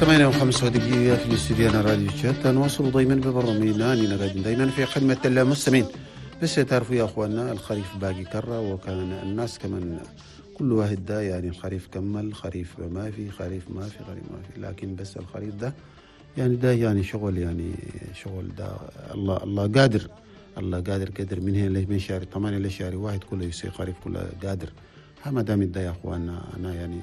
8:05 في الاستوديو راديو شات. نواصل دايما ببرنامجنا اننا قاعدين دايما في خدمة المستمعين. بس تعرفوا يا اخواننا الخريف باقي كرة، وكان الناس كمان كل واحد ده يعني الخريف كمل، خريف ما في، خريف ما في، خريف ما في، لكن بس الخريف ده يعني ده يعني شغل، يعني شغل ده الله قادر، الله قادر قدر من هنا من شهر 8 لشهر 1 كله يصير خريف كله قادر. ما دام ده يا اخواننا انا يعني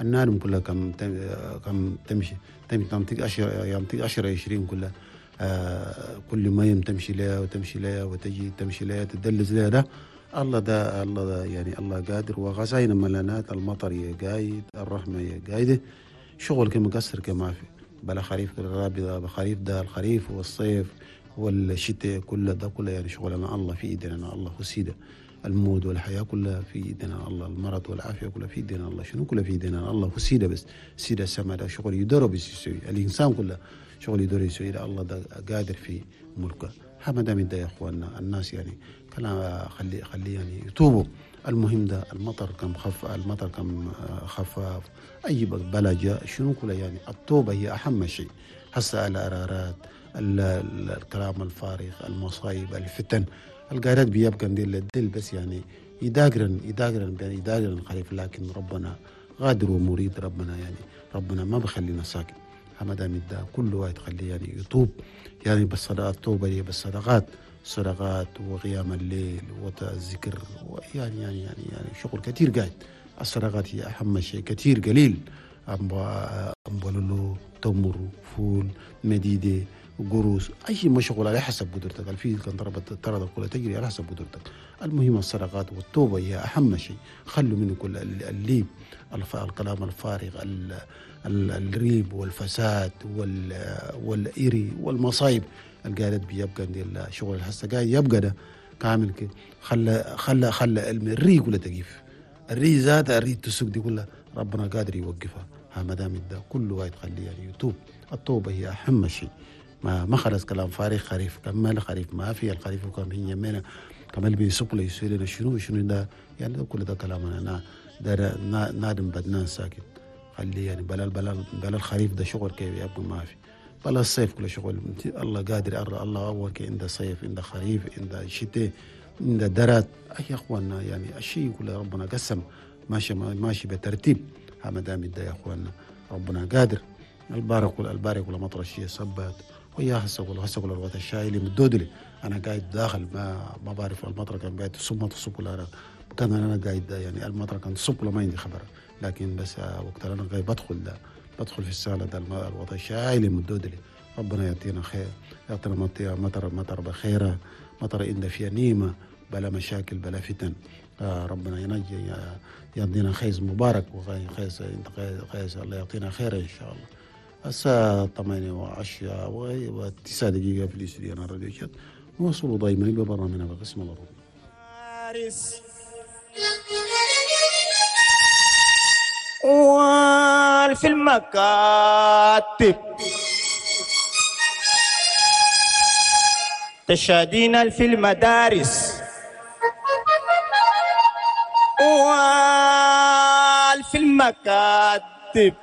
النار كلها كم تمشي تنطق 10 ينطق 10 20 كلها كل ما يوم تمشي لها وتمشي لها وتجي تمشي لها تدلز لها. ده الله ده الله ده يعني الله قادر، وغزاينا ملانات، المطر يا قايد، الرحمة يا قايدة، شغل كم مقصر كما في بلا خريف الرابي خريف ده الخريف والصيف والشتاء كله ده كله يعني شغلنا الله في ايدنا، الله هو سيده الموت والحياة كلها في ايدنا الله، المرض والعافية كلها في ايدنا الله، شنو كلها في ايدنا الله هو سيده، بس سيده السماء ده شغل يدور بس يسوي الانسان كله شغل يدور يسوي، الله ده قادر في ملكه. ما دام ده يا اخواننا الناس يعني كلام خلي يعني يتوبوا. المهم ده المطر كم خف، المطر كم خفاف، اي بلا جاء شنو كله يعني التوبة هي اهم شيء. هسه الارارات، الكلام الفارغ، المصايب، الفتن القارات بيبقى ديل الدل بس يعني يداقرن يداقرن يداقرن الخريف، لكن ربنا غادر ومريد، ربنا يعني ربنا ما بخلينا ساكت. ما دام ده كل واحد خليه يعني يتوب، يعني بالصدقات، التوبة هي بالصدقات، صدقات وقيام الليل والذكر، ويعني يعني يعني يعني شغل كثير قاعد. الصدقات هي اهم شيء، كثير قليل أمبولولو، تمر، فول، مديدة، قروس، أي مشغول على حسب قدرتك. الفيل كان ضربت الطرد كلها تجري على حسب قدرتك. المهم الصدقات والتوبة هي أهم شيء. خلوا منه كل الليب، الكلام الفارغ، الريب والفساد والإري والمصايب القالت بيبقى ديال شغل الحسة قاعد يبقى ده كامل كده. خلى خلى خلى الري كلها تقيف، الري ذات الري تسوق دي كلها ربنا قادر يوقفها. ما دام ده كله واحد خليه يعني يتوب. التوبة هي أهم شيء. ما خلص كلام فارغ، خريف كمل، خريف ما في، الخريف كان هي يمينا كمل بيسوق له يسوي لنا شنو شنو ده يعني ده كل ده كلام انا ده نادم بدنان ساكت. خليه يعني بلا بلا بلا الخريف ده شغل كيف يبقى ما في، بلا الصيف كله شغل الله قادر، الله اول كي عنده صيف، عنده خريف، عنده شتاء، عنده درات. يا اخواننا يعني الشيء كله ربنا قسم ماشي ماشي بترتيب. ما دام ده يا اخواننا ربنا قادر. البارك البارك ولا مطر الشيء صبت ويا هسه ولا هسه ولا الوقت الشاي اللي مدودلي انا قاعد داخل ما بعرف المطر كان قاعد تصب ما تصب ولا كان انا قاعد يعني المطر كان تصب ولا ما عندي خبر، لكن بس وقت انا قاعد بدخل ده بدخل في السالة ده الوقت الشاي اللي مدودلي. ربنا يعطينا خير، يعطينا مطر مطر بخيره، مطر إن فيها نيمه بلا مشاكل بلا فتن. ربنا ينجي يعطينا خيز مبارك وخيز خيز الله يعطينا خير ان شاء الله. الساعة 8:10 في الاستوديو راديو شات. نوصلوا دايما ببرنامجنا بقسم العربي. وفي المكاتب تشادين في المدارس وفي المكاتب